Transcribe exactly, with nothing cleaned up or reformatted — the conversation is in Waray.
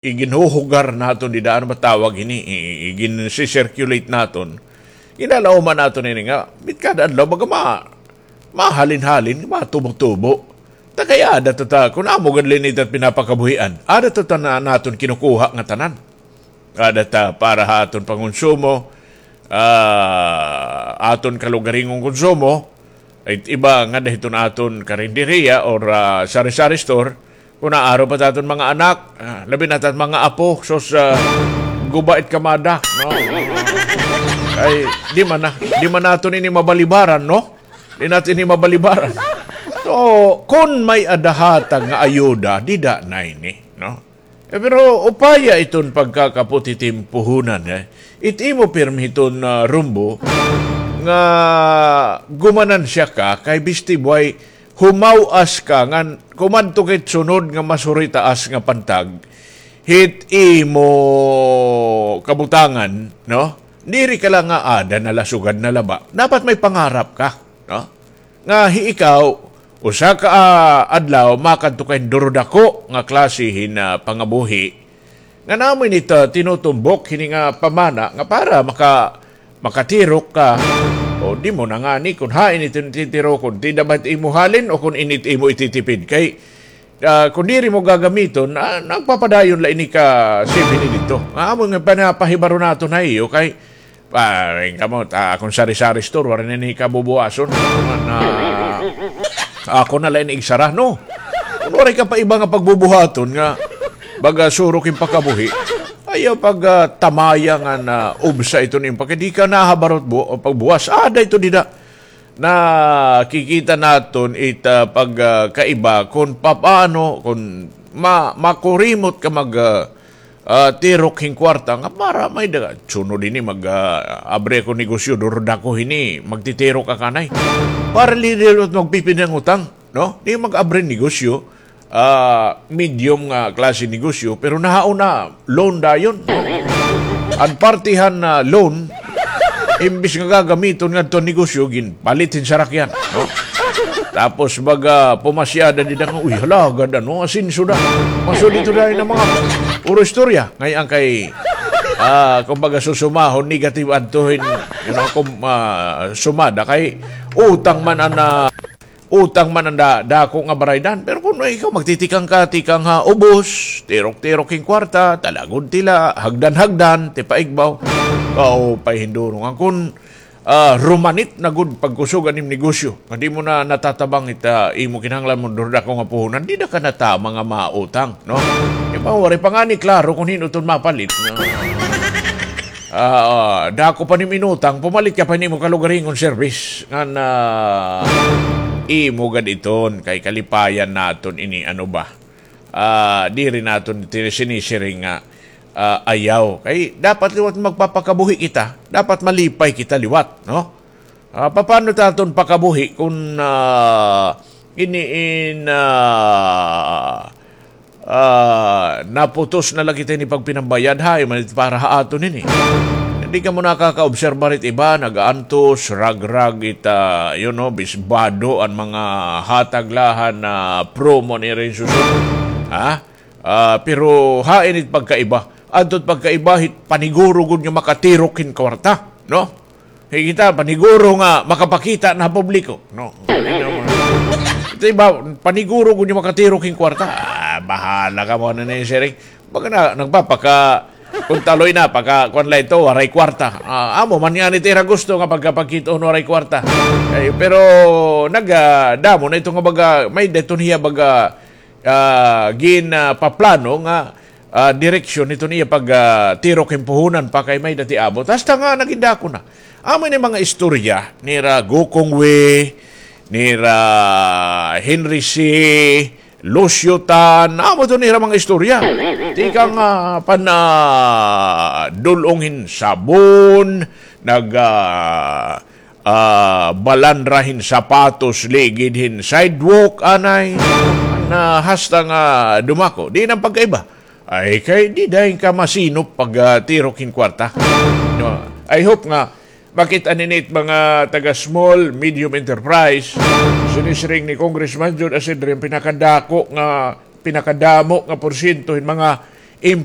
iginhuhugar naton dida, ano ba tawag hini? I-, i-, igin-circulate naton. Ginalauman naton ini nga, bit kada adlaw, baga ma-, mahalin-halin, matubo-tubo. Ta kay ada ta, ta, kun amo gad la ini ta pinapakabuhian, ada ta, ta na, naton kinukuha nga tanan. Ada ta para ha aton pangonsumo, ah, aton kalugaringon konsumo, it iba nga dahiton aton karinderiya or, ah, sari-sari store, kun aaro pa ta aton mga anak, ah, labi na ta mga apo, sus, ah, guba it kamada, no? Ay, di man na, di man naton ini mabalibaran, no? Di naton ini mabalibaran. So, kun may-ada hatag nga ayuda, dida na ini, no? Eh, pero upaya iton pagkakaputitimpuhunan, eh. It imo pirmi hiton, ah, rumbo nga gumanansya ka kay bisti buhay humaw-as ka ngan kumadto ka hit sunod nga mas huritaas nga pantag hit imo kabutangan, no? Diri ka la nga ada na la, sugad na la ba. Dapat may pangarap ka, no? Nga hi ikaw, usa ka, ah, adlaw, makadto ka hin durudako nga klase hin, ah, pangabuhi. Ngan amo ini it, ah, tinutumbok hini nga pamana nga para maka-, makatirok ka. O di mo na ngani kun hain it titirokon, dida ba it imo halin o kun ini it imo ititipid. Kay, ah, kun diri mo gagamiton, ah, nagpapadayon la ini ka save hini didto. Nga amo nga pinapahibaro naton ha iyo kay, ah, ring kamo, ta, akon sari-sari store, waray na ini kabubuhason. Na, ako na la ini igsara, no? Kun waray ka pa iba nga pagbubuhaton nga baga surok hin pakabuhi, ayaw pag, ah, tamaya nga na ubsa iton imo pagka di ka nahabarot bu-, pagbuhas. Ada ito dida. Nakikita naton it, ah, pag, ah, kaiba kun papaano, kun ma-, makurimot ka mag, ah, ah, tirok hin kwarta nga para may-ada, sunod hini mag, ah, abri ako negosyo, durudako hini, magtitirok ka anay. Para diri liwat magpipinang utang, no? Di mag-abri negosyo, ah, medium nga klase negosyo, pero nahauna, loan dayon, no? An parte han, ah, loan, imbis nga gagamiton ngadto han negosyo, ginpalit hin sarakyan, no? Tapos baga pumasyada dida nga, uy, hala, gad, ano, asenso na. Masud ito dayon an mga puro istorya. Ngay-an kay, ah, kumbaga susumahon, negative adto hin, you know, kum-, ah, sumada kay utang man an, ah, utang man an da-, dako nga baraydan. Pero kun ikaw magtitikang ka, tikang ha ubos, tirok-tirok hin kwarta, talagod tila, hagdan-hagdan, tipaigbaw. Kaupay hin durong. An kun, ah, rumanit na gud pagkusog an im negosyo. Nga di mo na natatabang it, ah, imo kinahanglan mo durudako nga puhunan, dida ka na tama nga mautang, no? Kay pa, waray pa ngani klaro kun hin-o iton mapalit, no? Ah, dako pa nim inutang, pumalit ka pa hin imo kalugaringon service. Ngan, ah, imo gad iton, kay kalipayan naton ini, ano ba? Ah, diri naton tini-, sinisiring nga, ah, ayaw. Kay dapat liwat magpapakabuhi kita, dapat malipay kita liwat, no? Ah, papaano ta aton pakabuhi kun, ah, ini in, ah, ah, naputos na la kita ini pagpinambayad, hain man it para ha aton ini. Diri kamo nakakaobserba hit iba, nagaantos, ragrag it, ah, you know, bisbado an mga hatag la han promo nira hin susunod. Ha? Ah, pero hain it pagkaiba? Adto it pagkaiba hit paniguro gud nga makatirok hin kwarta, no? Hi kita, paniguro nga makapakita na ha publiko, no? Ito iba, paniguro gud nga makatirok hin kwarta. Ah, bahala kamo ano na ini siring. Baga na, nagpapaka, kun taloy na, pagka, kuan la ito, waray kwarta. Ah, amo man ngani it ira gusto nga pagkapakit-on waray kwarta. Eh, pero nag, ah, damo na ito nga baga, may-ada iton hiya baga, ah, gin, ah, paplano nga, ah, direksyon hiton iya pag, ah, tirok hin puhunan pa kay may-ada it iabot. Hasta nga nagin dako na. Amo ini mga istorya nira Gokongwei, nira Henry Sy, Lucio Tan, amo iton ira mga istorya. Tikang, ah, pan, ah, dul-ong hin sabon, nag, ah, ah, balandra hin sapatos ligid hin sidewalk, anay, na hasta nga dumako. Diin an pagkaiba? Ay, kay dida hin ka masinop pag, ah, tirok hin kwarta. No, I hope nga makit-an ini it mga taga small, medium enterprise. Sinisiring ni Congressman Jun Asidre an pinakadako nga, pinakadamo nga porsyento hin mga Employee